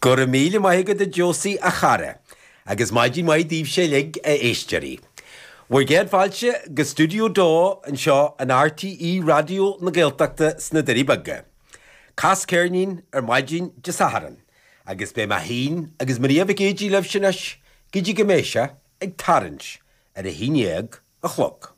Go raibh míle maith agat a Josie a chara, agus maidin mhaith daoibhse uilig a éisteoirí. Bhur gcéad fáilte go Stiúideo 2 anseo in RTÉ Raidió na Gaeltachta sna Doirí Beaga. Cas Ceirnín ar maidin Dé Sathairn, agus beidh mé féin agus Maria Mhic Géidigh libhse anois go dtí go mbeidh sé ag tarraingt ar a haon dhéag a chlog.